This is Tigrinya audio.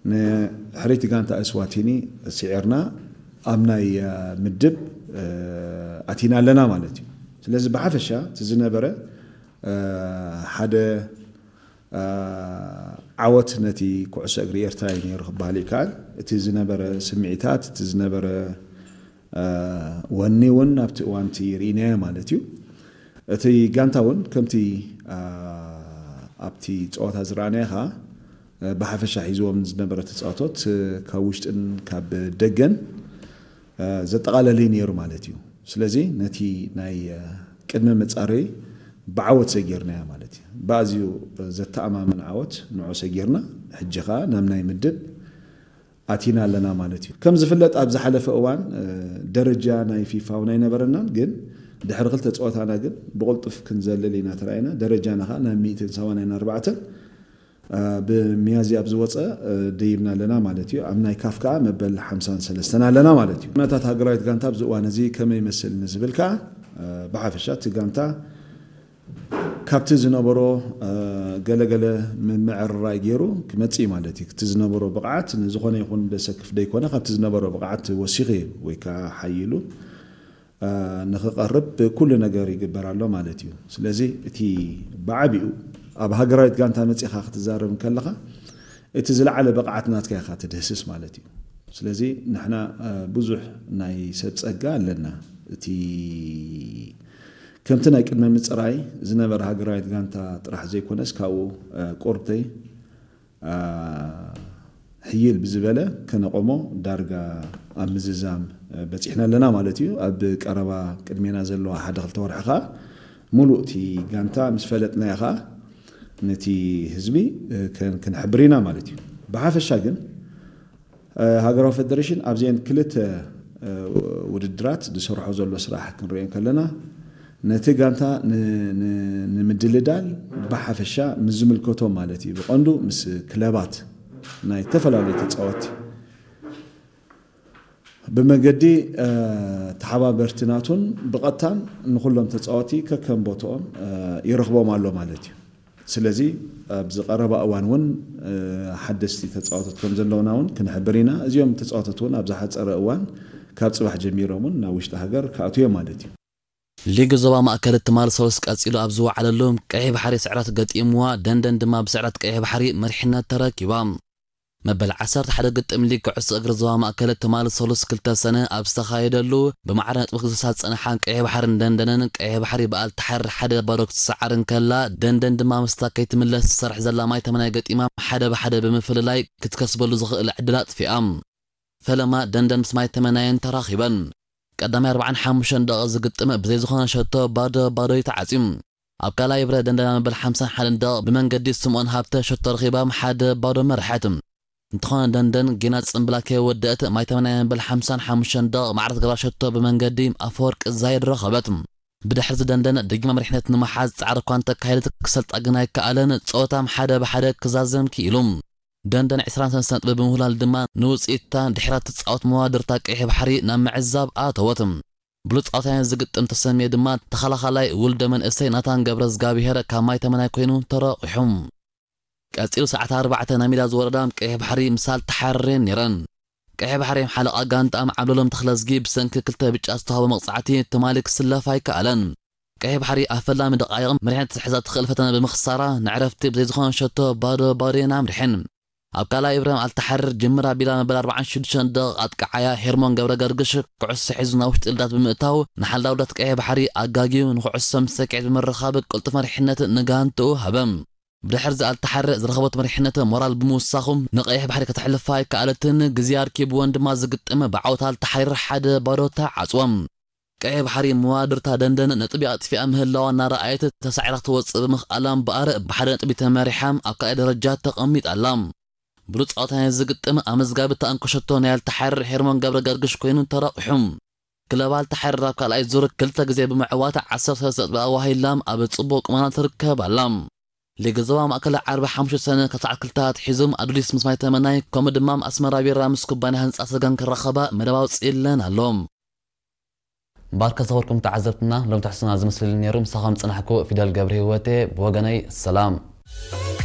ንሕርይቲ ጋንታ እስዋቲኒ ስዒርና ኣብ ናይ ምድብ ኣቲና ኣለና ማለት እዩ። ስለዚ ብሓፈሻ እቲ ዝነበረ ሓደ ዓወት ነቲ ኩዕሶ እግሪ ኤርትራ እዩ ነይሩ ክበሃል ይከኣል። እቲ ዝነበረ ስምዒታት፣ እቲ ዝነበረ ወኒ እውን ኣብቲ እዋንቲ ርኢናዮ ማለት እዩ። እቲ ጋንታ እውን ከምቲ ኣብቲ ፀወታ ዝረኣናዮ ኸዓ ብሓፈሻ ሒዝዎም ዝነበረ ተፃወቶት ካብ ውሽጥን ካብ ደገን ዘጠቓለለ ነይሩ ማለት እዩ። ስለዚ ነቲ ናይ ቅድመ መፃረይ ብዓወት ሰጊርናያ ማለት እዩ። ብኣዝዩ ዘተኣማምን ዓወት ንዑ ሰጊርና፣ ሕጂ ኸዓ ናብ ናይ ምድብ ኣቲና ኣለና ማለት እዩ። ከም ዝፍለጥ ኣብ ዝሓለፈ እዋን ደረጃ ናይ ፊፋ እውን ኣይነበረናን፣ ግን ድሕሪ ክልተ ፀወታና ግን ብቕልጡፍ ክንዘልል ኢና ተራኢና። ደረጃና ኸዓ ናብ ሚእትን ሰማንያን ኣርባዕተን ብሚያዝያ ኣብ ዝወፀ ደይብና ኣለና ማለት እዩ። ኣብ ናይ ካፍ ከዓ መበል ሓምሳን ሰለስተን ኣለና ማለት እዩ። ኩነታት ሃገራዊት ጋንታ ኣብዚ እዋን እዚ ከመይ ይመስል ንዝብል ከዓ ብሓፈሻ እቲ ጋንታ ካብቲ ዝነበሮ ገለገለ ምምዕርራይ ገይሩ ክመፅእ ማለት እዩ። እቲ ዝነበሮ ብቕዓት ንዝኾነ ይኹን ደሰክፍ ደይኮነ ካብቲ ዝነበሮ ብቕዓት ወሲኺ ወይ ከዓ ሓይሉ ንኽቐርብ ኩሉ ነገር ይግበር ኣሎ ማለት እዩ። ስለዚ እቲ ብዓቢኡ ኣብ ሃገራዊት ጋንታ መፂኻ ክትዛረብ እንከለኻ እቲ ዝለዓለ ብቕዓት ናትካ ኢኻ ትድህስስ ማለት እዩ። ስለዚ ንሕና ብዙሕ ናይ ሰብ ፀጋ ኣለና። እቲ ከምቲ ናይ ቅድመ ምፅራይ ዝነበረ ሃገራዊት ጋንታ ጥራሕ ዘይኮነስ ካብኡ ቁርተይ ሕይል ብዝበለ ከነቆሞ ዳርጋ ኣብ ምዝዛም በፂሕና ኣለና ማለት እዩ። ኣብ ቀረባ ቅድሜና ዘለዋ ሓደ ክልተ ወርሒ ከዓ ሙሉእ እቲ ጋንታ ምስ ፈለጥናዮ ከዓ ነቲ ህዝቢ ክንሕብር ኢና ማለት እዩ። ብሓፈሻ ግን ሃገራዊ ፌደሬሽን ኣብዚአን ክልተ ውድድራት ዝሰርሖ ዘሎ ስራሕ ክንሪኦ ከለና ነቲ ጋንታ ንምድልዳል ብሓፈሻ ምስ ዝምልከቶም ማለት እዩ፣ ብቐንዱ ምስ ክለባት ናይ ዝተፈላለዩ ተፃወቲ ብመገዲ ተሓባበርቲ ናቱን ብቐጥታን ንኩሎም ተፃወቲ ከከም ቦትኦም ይረኽቦም ኣሎ ማለት እዩ። ስለዚ ኣብዚ ቀረባ እዋን እውን ሓደስቲ ተፃወቶት ከም ዘለውና እውን ክንሕብር ኢና። እዚኦም ተፃወቶት እውን ኣብ ዝሓፀረ እዋን ካብ ፅባሕ ጀሚሮም እውን ናብ ውሽጢ ሃገር ክኣትዉ እዮም ማለት እዩ። ሊግ ዞባ ማእከል ትማል ሰሉስ ቀጺሉ ኣብ ዝወዓለሉ ቀይሕ ባሕሪ ስዕረት ገጢምዋ፣ ደንደን ድማ ብስዕረት ቀይሕ ባሕሪ መሪሕነት ተረኪባ። መበል ዓሰርተ ሓደ ግጥም ሊግ ኩዕሶ እግሪ ዞባ ማእከል ትማል ሰሉስ ክልተ ሰነ ኣብ ዝተኻየደሉ ብማዕረ ነጥቢ ክዝሳ ዝጸንሓ ቀይሕ ባሕርን ደንደንን ቀይሕ ባሕሪ ብኣልታሓር ሓደ ባዶ ክትሰዓር እንከላ ደንደን ድማ ምስታ ከይትምለስ ትሰርሕ ዘላ ማይ ተመናይ ገጢማ ሓደ ብሓደ ብምፍልላይ ክትከስበሉ ዝኽእል ዕድል ኣጥፊኣ። ፈለማ ደንደን ምስ ማይ ተመናየን ተራኺበን። ቀዳማይ ኣርባዓን ሓሙሽተን ደቂቕ ዝግጥም ብዘይ ዝኾነ ሸቶ ባዶ ባዶ እዩ ተዓጽዩ። ኣብ ካልኣይ ብረ ደንደና መበል ሓምሳን ሓደን ደቂቕ ብመንገዲ ስምኦን ሃብተ ሸቶ ረኺባ ሓደ ባዶ መርሐት። እንተኾነ ደንደን ጌና ጽምብላ ከይወደአት ማይ ተመናየን መበል ሓምሳን ሓሙሽተን ደቂቕ ማዕረ ዝገብራ ሸቶ ብመንገዲ ኣፈወርቂ ዛይድ ረኸበት። ብድሕርዚ ደንደን ደጊማ መሪሕነት ንምሓዝ ጻዕሪ እኳ እንተካየደት ክሰልጣ ግን ኣይከኣለን። ጸወታም ሓደ ብሓደ ክዛዘም ክኢሉ። ደንደን ዕስራን ሰለስተን ነጥቢ ብምውላል ድማ ንውጽኢታ ድሕራ ትጻወት መዋድርታ ቀይሕ ባሕሪ ናብ ምዕዛብ ኣተወት። ብሉጽ ጻወታያን ዝግጥም ተሰምየ ድማ ተኸላኻላይ ውልደ መንእሰይ ናታን ገብረ ዝጋብሄር ካብ ማይ ተመናይ ኮይኑ ተረቑሑ። ቀጺሉ ሰዓት ኣርባዕተ ናይ ሜዳ ዝወረዳ ቀይሕ ባሕሪ ምሳል ተሓርሬን ነይረን። ቀይሕ ባሕሪ ሓለቓ ጋንታኣም ዓብደሎም ተኽለዝጊ ብሰንኪ ክልተ ብጫ ዝተዋህቦ መቕጻዕቲ ትማሊ ክስለፍ ኣይከኣለን። ቀይሕ ባሕሪ ኣብ ፈላሚ ደቓይቕ መሪሕነት ክትሕዛ ትኽእል ፈተነ ብምኽሳራ ንዕረፍቲ ብዘይ ዝኾነ ሸቶ ባዶ ባዶ እየን ኣምሪሐን። ኣብ ካልኣይ እብራሂም ኣልተሓርር ጅምር ኣቢላ መበል ኣርባዓን ሽዱሽተን ደቂቕ ኣጥቃዓያ ሄርሞን ገብረ ገርግሽ ኩዕሶ ሒዙ ናብ ውሽጢ ልዳት ብምእታው ንሓላው ልዳት ቀይሕ ባሕሪ ኣጋግዩ ንኩዕሶ ምስ ሰኪዐት ብምርኻብ ቅልጡፍ መሪሕነት ንጋንትኡ ሃበ። ብድሕርዚ ኣልተሓርር ዝረኸቦት መሪሕነት ሞራል ብምውሳኹ ንቀይሕ ባሕሪ ከተሕልፋ ኣይከኣለትን። ግዜ ኣርኪብወን ድማ ዝግጥም ብዓወት ኣልተሓርር ሓደ ባዶ ተዓጽወ። ቀይሕ ባሕሪ መዋድርታ ደንደን ነጥቢ ኣጥፊኣ ምህላዋ እናረኣየት ተሳዒራ ክትወጽእ ብምኽኣላ እምበኣር ብሓደ ነጥቢ ተመሪሓ ኣብ ካልኣይ ደረጃ ተቐሚጣ ኣላ። ብሉጽ ጻወታ ናይ ዝግጥም ኣመዝጋቢ ተኣንኮ ሸቶ ናይ ኣልተሓርር ሄርሞን ገብረ ገርግሽ ኮይኑ ተረቑሑ። ክለብ ኣልተሓርር ኣብ ካልኣይ ዙር ክልተ ግዜ ብምዕዋት ዓሰርተ ሰለስተ ነጥቢ ኣዋሂላ ኣብ ጽቡቕ ቁመና ትርከብ ኣላ። ሊግ ዞባ ማእከል ዓርቢ ሓሙሽተ ሰነ ካብ ሰዓት ክልተ ኣትሒዙ ኣዱሊስ ምስ ማይ ተመናይ ከምኡ ድማ ኣስመራ ቢራ ምስ ኩባንያ ህንጻ ሰገን ክራኸባ መደብ ኣውጺእለን ኣሎ። እምበኣር ከዝኸበርኩም ተዓዘብትና ሎም ትሕዝቶና ዝመስል ነይሩ። ምሳኹም ዝጸናሕኩ ፊደል ገብረ ህይወቴ ብወገነይ ሰላም።